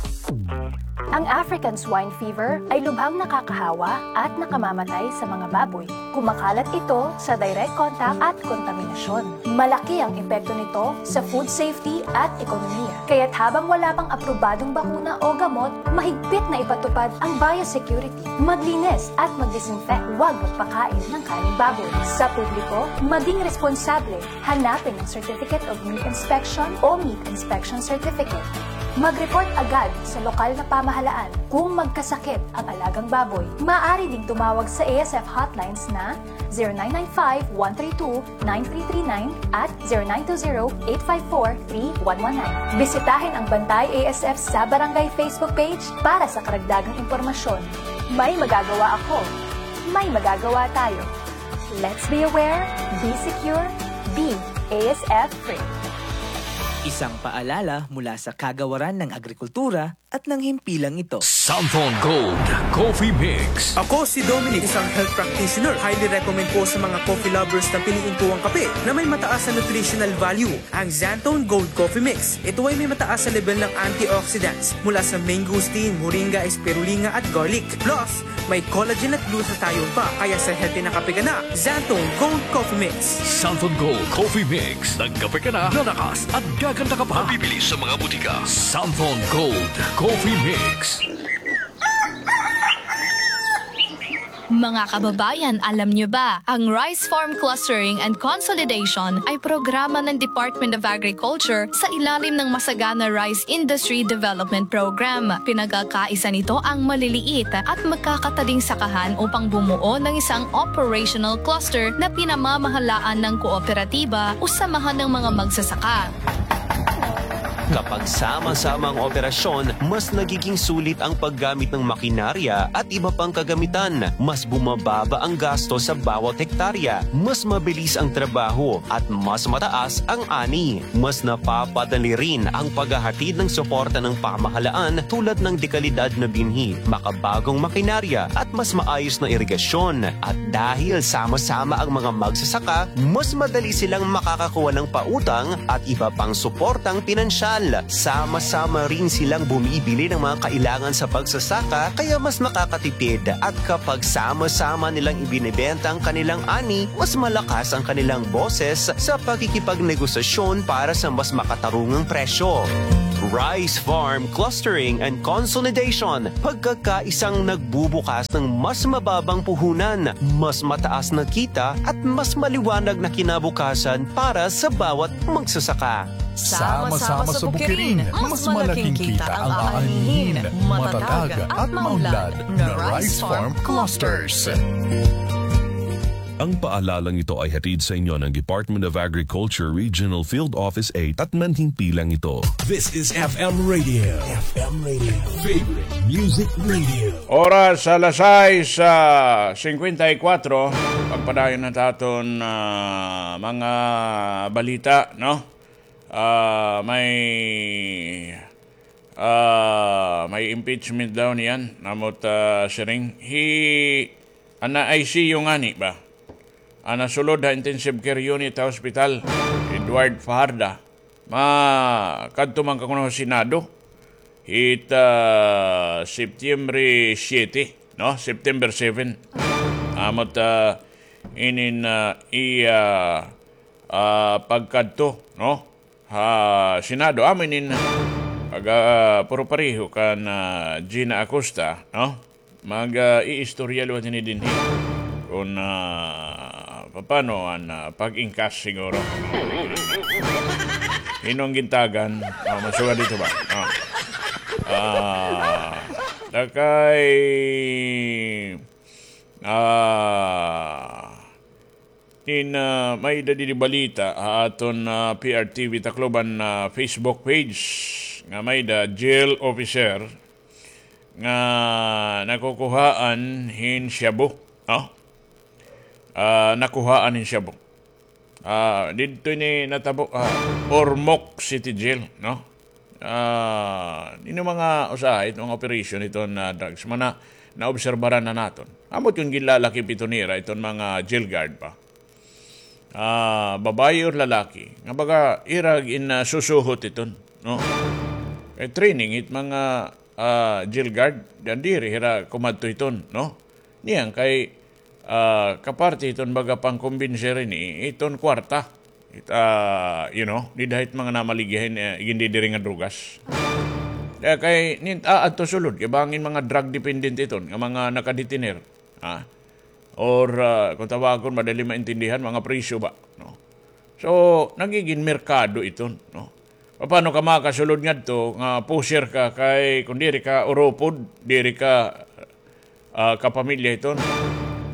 Ang African swine fever ay lubhang nakakahawa at nakamamatay sa mga baboy. Kumakalat ito sa direct contact at kontaminasyon. Malaki ang epekto nito sa food safety at ekonomiya. Kaya't habang wala pang aprobadong bakuna o gamot, mahigpit na ipatupad ang biosecurity. Maglinis at mag-disinfect. Huwag magpakain ng karneng baboy. Sa publiko, maging responsable. Hanapin ang Certificate of Meat Inspection o Meat Inspection Certificate. Mag-report agad sa lokal na pamahalaan kung magkasakit ang alagang baboy. Maaari ding tumawag sa A S F hotlines na zero nine nine five, one three two, nine three three nine at zero nine two zero, eight five four, three one one nine. Bisitahin ang Bantay A S F sa Barangay Facebook page para sa karagdagang impormasyon. May magagawa ako. May magagawa tayo. Let's be aware, be secure, be A S F free. Isang paalala mula sa Kagawaran ng Agrikultura at ng himpilang ito. Santhon Gold Coffee Mix. Ako si Dominic, isang health practitioner. Highly recommend ko sa mga coffee lovers na piliin ko ang kape na may mataas na nutritional value, ang Xanthone Gold Coffee Mix. Ito ay may mataas na level ng antioxidants mula sa mangosteen, moringa, spirulina at garlic. Plus, may collagen at glutathione pa, kaya sa healthy na kape ka na, Xanthone Gold Coffee Mix. Santhon Gold Coffee Mix. Nagkape ka na, lalakas at gaganda ka pa. Mabibili sa mga butika. Santhon Gold Coffee Mix. Mga kababayan, alam niyo ba, ang Rice Farm Clustering and Consolidation ay programa ng Department of Agriculture sa ilalim ng Masagana Rice Industry Development Program. Pinagkakaisa nito ang maliliit at magkakataling sakahan upang bumuo ng isang operational cluster na pinamamahalaan ng kooperatiba o samahan ng mga magsasaka. Kapag sama-sama ang operasyon, mas nagiging sulit ang paggamit ng makinarya at iba pang kagamitan. Mas bumababa ang gasto sa bawat hektarya, mas mabilis ang trabaho, at mas mataas ang ani. Mas napapadali rin ang paghahatid ng suporta ng pamahalaan tulad ng dekalidad na binhi, makabagong makinarya, at mas maayos na irigasyon. At dahil sama-sama ang mga magsasaka, mas madali silang makakakuha ng pautang at iba pang suportang pinansyal. Sama-sama rin silang bumibili ng mga kailangan sa pagsasaka, kaya mas nakakatipid. At kapag sama-sama nilang ibinebenta ang kanilang ani, mas malakas ang kanilang boses sa pakikipagnegosasyon para sa mas makatarungang presyo. Rice Farm Clustering and Consolidation, pagkakaisang nagbubukas ng mas mababang puhunan, mas mataas na kita, at mas maliwanag na kinabukasan para sa bawat magsasaka. Sama-sama sa bukirin, mas malaking kita ang aanhihin. Matatag at maunlad na Rice Farm Clusters. Ang paalalang ito ay hatid sa inyo ng Department of Agriculture Regional Field Office eight at manhimpilang ito. This is F M Radio. F M Radio. Favorite Music Radio. Oras alas sais, ah, singkwenta y kuwatro. Pagpadayon na ta aton, ah, mga balita, no? Ah, may, ah, may impeachment daw niyan, namot, ah, siring. Hi, ana I C U ngani ba? Ana sulod ha intensive care unit ha hospital, Edward Fajarda. Makadto man ka kuno ha Senado. Hit, ah, September siete, no? September seven. Amot, ah, inin, ah, iya, ah, pagkadto, no? Ha Senado, amo inin pag, ah, puro pareho kan, ah, Gina Acosta, no? Mag, ah, iistorya liwat ini dinhi. Kun, ah, papano an, ah, pag-ingkas siguro. Hin-o an gintagan? Ah, masugad dito ba? Ah. Ah, dakay, ah, Nin, ah, may-ada didi balita ha aton, ah, P R T V Tacloban, ah, Facebook page nga may-ada jail officer nga nakukuhaan hin shabu, no? Ah, nakuhaan hin shabu. Ah, didto ini natabo, ah, Ormoc City Jail, no? Ah, ini mga usahay, it mga operation iton, ah, drugs, mga naobserbaran na naton. Amo it ginlalakip iton nira, iton mga jail guard ba. Ah, babayi or lalaki, nga baga ira gin, ah, susuhot iton, no? Kay training it mga, ah, jail guard, diri hira kumadto iton, no? Niyan kay, ah, kaparte iton baga pangkumbinser ini, iton kwarta. It, ah, you know, dida hit mga namaligya hin, eh, igindidiri nga drugas. Kay nin-, ah, adto sulod, kay bangin mga drug dependent iton, nga mga nakadetiner. Ah. Or, ah, kung tawagon, madali maintindihan, mga presyo ba, no? So, nagigin merkado iton, no? Papano ka makasulod ngadto nga pusher ka kay kun diri ka urupod, diri ka, ah, kapamilya iton,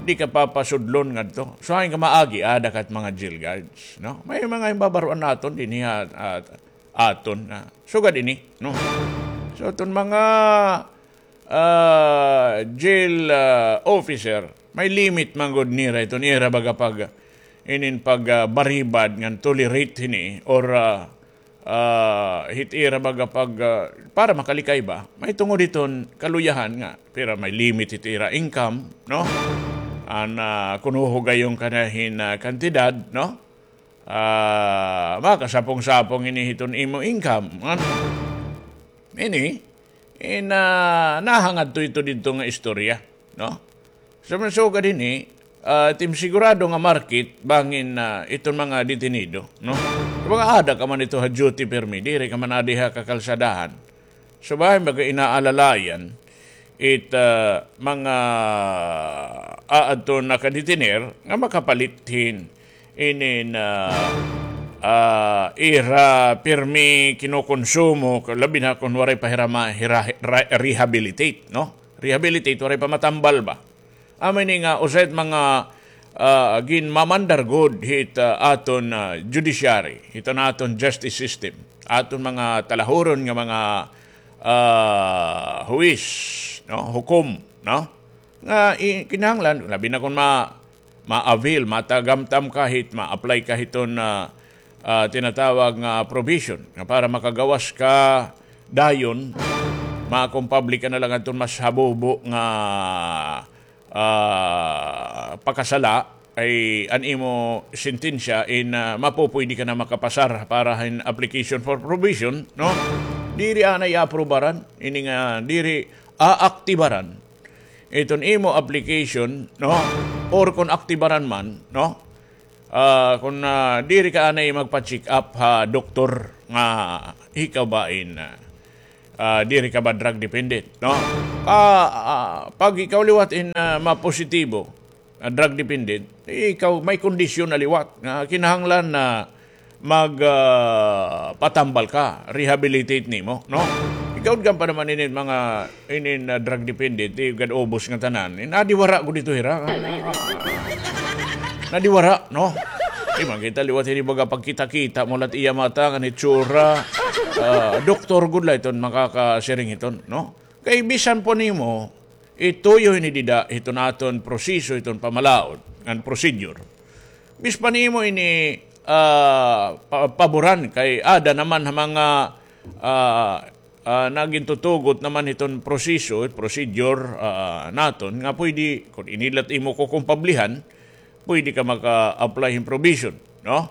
di ka papasudlon ngadto. So, hain ka maagi, ada ka it mga jail guards, no? May mga himbabaroan naton dinhi ha, ah, aton na sugad ini, no? So, iton mga ah, jail, ah, officer, may limit man gud nira iton ira baga pag, inin pag, ah, baribad ngan tolerate hini or, ah, ah, hit ira baga pag, ah, para makalikay ba? May tungod hiton kaluyahan nga, pero may limit hit ira income, no? An, ah, kun huhugayon ka na hin, ah, kantidad, no? Ah, makasapong-sapong ini hiton imo income. Ano? Ini, in, ah, nahangad to ito didto nga istorya, no? Sa mga sugad ini, ah, tim sigurado nga market, bangin, ah, iton mga detenido, no? Kung mga ada ka man ito ha duty permi, diri ka man adi ha kakalsadahan. So, bahin baga inaalalayan it, ah, mga aadto nakadetiner nga makapalit hin inin, ah, ah, ira pirmi kinukonsumo, labi na kon waray pa hira ma-, hira-, ra-, rehabilitate, no? Rehabilitate, waray pa matambal ba? Amo ini nga usa it mga, ah, ginmamandar gud hit, ah, aton, ah, judiciary, hiton aton justice system, aton mga talahuron nga mga, ah, huwis, no, hukom, no, nga i-, kinahanglan, labi na kon ma-, ma-avail, matagamtam ka hit, ma-apply ka hiton, ah, ah, tinatawag nga provision, nga para makagawas ka dayon, makompable ka na la ngadton mas habubo nga, ah, pakasala, ay an imo sentensya in, ah, mapupuydi ka na makapasar para hin application for probation, no? Diri anay aprubaran, ini nga diri aaktibaran iton imo application, no? Or kon aktibaran man, no? Ah, kon, ah, diri ka anay magpa-check up ha doktor nga ikaw ba in, ah, ah, diri ka ba drug dependent, no? Ah, ah, pag ikaw liwat in, ah, mapositibo, ah, drug dependent, ikaw may kondisyon na liwat nga kinahanglan na mag, ah, patambal ka, rehabilitate nimo, no? Ikaw gam pa naman inin mga, inin, ah, drug dependent, di gad ubos nga tanan. Eh, nadiwara gud ito, hira. Nadiwara, no? Di man kita liwat ini baga pagkita-kita mo lat iya mata, ngan itsura. Ah, doktor gud la iton makakasiring hiton, no? Kay bisan pa nimo ituyo hini dida hiton aton proseso, hiton pamalaod, ngan procedure. Bisan pa nimo ini, ah, pa-, paboran kay ada naman ha mga, ah, ah, nagintutugot naman hiton proseso, procedure, ah, naton nga pwede, kon ini la it imo kukumpablihan, pwede ka maka-apply hin probation, no?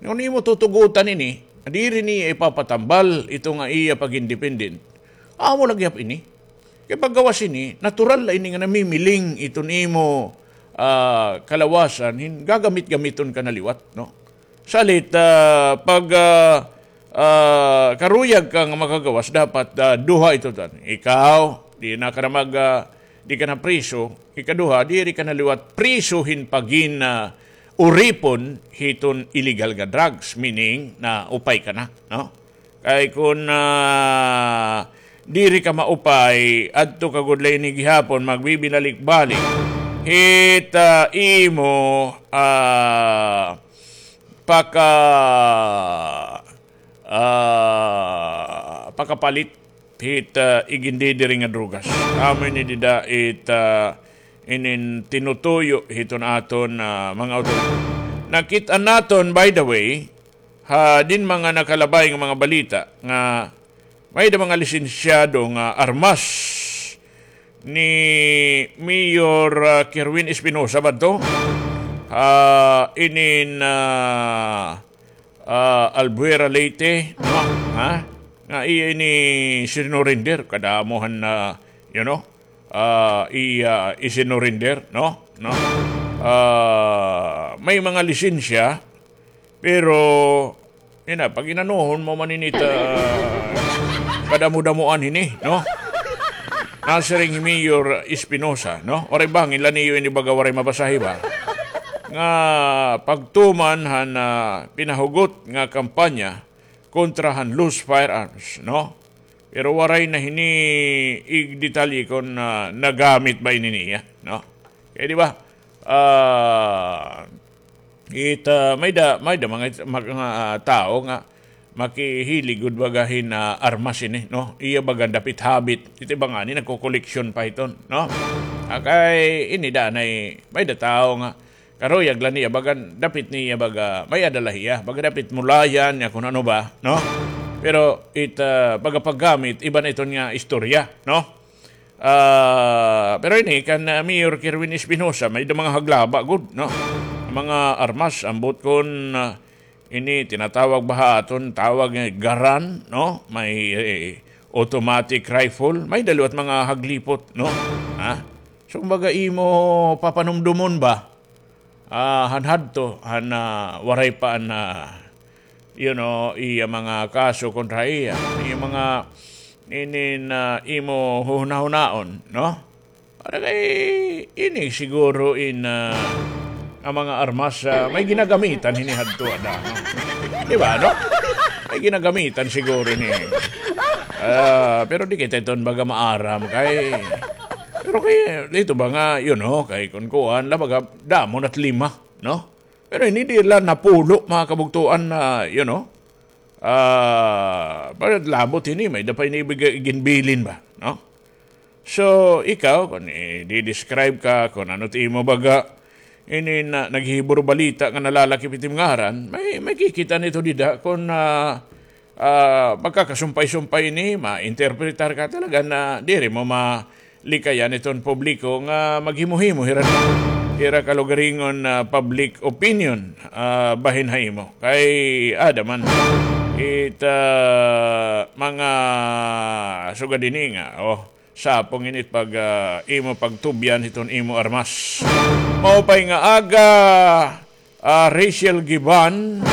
Kon imo tutugotan ini, diri niya ipapatambal ito nga iya pag-independent. Amo la gihap ini. Kay paggawas ini, natural la ini nga namimiling iton imo, ah, kalawasan, hin gagamit-gamiton ka na liwat, no? Salit, ah, pag, ah, ah, karuyag ka nga makagawas, dapat, ah, duha ito tan. Ikaw, di na ka na mag, ah, di ka na priso. Ikaduha, diri ka na liwat priso hin pagin, ah, uripon hiton illegal nga drugs, meaning naupay ka na, no? Kay kon, ah, diri ka maupay, adto ka gud la ini gihapon, magbibinalik-balik hit, ah, imo, ah, paka-, ah, pakapalit hit, ah, igindidiri nga drugas. Amo ini dida it, ah, inin tinutuyo hiton aton, ah, mga awtoridad. Nakit-an naton, by the way, ha, din mga nakalabay nga mga balita nga may da mga lisensyado nga armas ni Mayor, ah, Kerwin Espinosa ba to? Ah, inin, ah, ah, Albuera Leyte, no? Ha? Nga iya ini sinurrender, kadamo han, ah, you know, ah, iya isinurrender, no? No? Ah, may mga lisensya, pero, ina, pag inanuhon mo man ini ta, kadamo-damoan hini, no? Nasiring hi Mayor Espinosa, no? Waray bangin la niyo ini baga waray mabasahi ba? Nga pagtuman han, ah, pinahugot nga kampanya kontra han loose firearms, no? Pero waray na hini igdetalye kon, ah, nagamit ba ini niya, no? Kay di ba? Ah, it, ah, may da, may da mga, mga, ah, tawo nga makihilig gud baga hin, ah, armas ini, no? Iya baga dapit habit. Ito ba ngani nagkokoleksyon pa hiton, no? Ah, kay ini danay, may da tawo nga karuyag la niya, baga dapit niya, baga may-ada la hiya, baga dapit mulayan niya kon ano ba, no? Pero it, ah, baga paggamit, iba na iton nga istorya, no? Ah, pero ini kan, ah, Mayor Kerwin Espinosa, may da mga haglaba gud, no? Mga armas, ambot kon, ah, ini tinatawag ba ha aton, tawag nga garan, no? May, eh, automatic rifle, may da liwat mga haglipot, no? Ha? So, kumbaga, imo papanumdumon ba? Ah, han hadto, han, ah, waray pa an, ah, you know, iya mga kaso kontra iya. Iya mga inin, ah, imo huhunahunaon, no? Para kay ini siguro in, ah, an mga armas, ah, may ginagamitan hini hadto ada, no? Di ba, no? May ginagamitan siguro ini. Ah, pero di kita iton baga maaram kay, pero Okay, dito ba nga, you know, kay kun kuan, la baga, damo na't lima, no? Pero ini di la napulo, mga kabugtuan, na, you know, ah, para labot ini, may da pa ini ibig-, ginbilin ba, no? So, ikaw, kung i-describe ka, kung ano ti imo baga, ini na, naghihiburo balita nga nalalakip iti ngaran, may, may kikita nito dida, kung, ah, ah, magkakasumpay-sumpay ini, ma-interpretar ka talaga na diri mo malikayan iton publiko nga maghimo-himo hira, hira kalugaringon, ah, public opinion, ah, bahin ha imo. Kay ada man, it, ah, mga sugad ini nga, oh, sapong init pag, ah, imo pagtubyan hiton imo armas. Maupay nga aga, ah, Rachel Giban,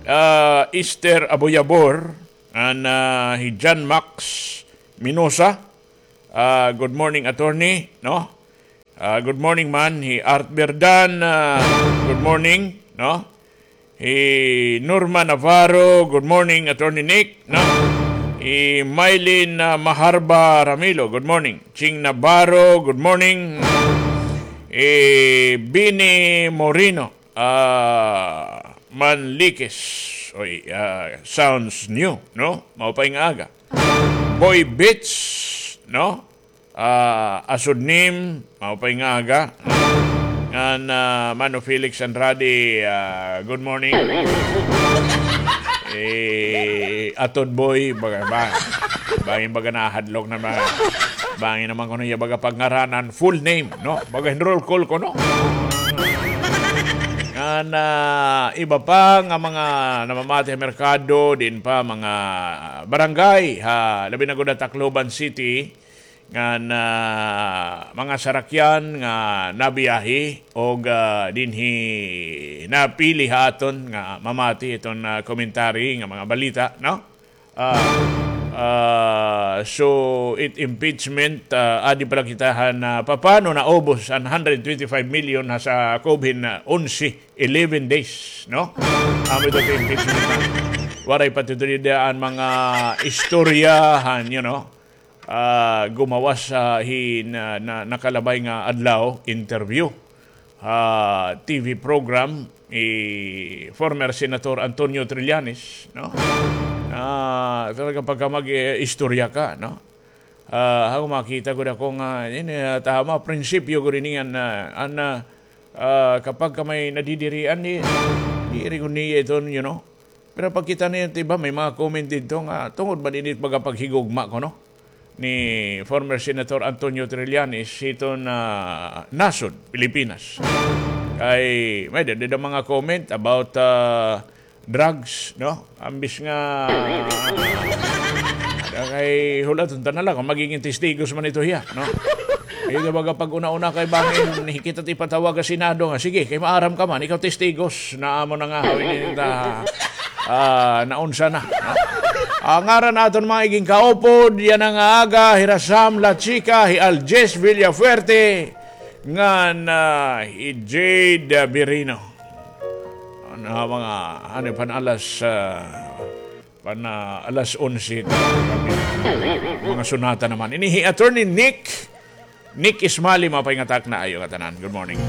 ah, Esther Aboyabor, and, ah, hi John Max Minosa. Ah, good morning, attorney, no? Ah, good morning man. Hi Art Berdan, ah, good morning, no? Hi Norma Navarro, good morning, Attorney Nick, no? Hi Mylene, ah, Maharba Ramilo, good morning. Ching Navarro, good morning. Hi Bini Moreno, ah, Manlikes. Oy, ah, sounds new, no? Maupay nga aga. Boy Beats, no? Ah, Asod Nim, maupay nga aga. Ngan, ah, Mano Felix Andrade, ah, good morning. Eh, Atod Boy, baga, ba, bangin baga nahadlok na ba. Bangin naman kuno iya baga pagngaranan, full name, no? Baga enroll call kuno. Ngan, ah, iba pa nga mga namamati ha merkado, din pa mga barangay, ha, labi na gud ha Tacloban City, ngan, ah, mga sarakyan nga nabiyahe og, ah, dinhi napili ha aton nga mamati iton, ah, commentary nga mga balita, no? Ah, ah, so, it impeachment, ah, adi pala kita han, ah, papano naubos an hundred twenty-five million ha sa COVID na onse, eleven days, no? Amo ito sa impeachment na. Waray pa ito dida an mga istorya han, you know, ah, gumawas sa hin-, na, na, nakalabay nga adlaw, interview, ah, T V program, ni former Senator Antonio Trillanes, no? Ah, talaga pagka mag-, eh, istorya ka, no? Ah, ako makita gud ako nga, ini, ah, tama, prinsipyo gud ini nga, ah, an, ah, ah, kapag ka may nadidirian, di, diri gud niya iton, you know, pero pagkita niyo, di ba, may mga comment didto nga tungod man ini it pagpaghigugma kuno ni former Senator Antonio Trillanes hiton, ah, nasod Pilipinas. Kay may dida mga comment about, ah, drugs, no? Ambis nga, kay hulaton ta na la kon magigin testigos man ito hiya, no? Kay baga pag-una-una kay bangin kita it ipatawag ha Senado nga, sige, kay maaram ka man, ikaw testigos, na amo na nga, hawin ta, ah, naunsa na, no? Ah, ngaran aton mga iging kaupod yana nga aga, hi Rasam La Chica, hi Aljes Villafuerte, ngan, ah, hi Jade, ah, Birino. Ano, mga, ano, pan alas, ah, pan, ah, alas onse ta, mga sunata naman. Ini hi Attorney Nick, Nick Ismali, maupay nga takna ha iyo ngatanan. Good morning.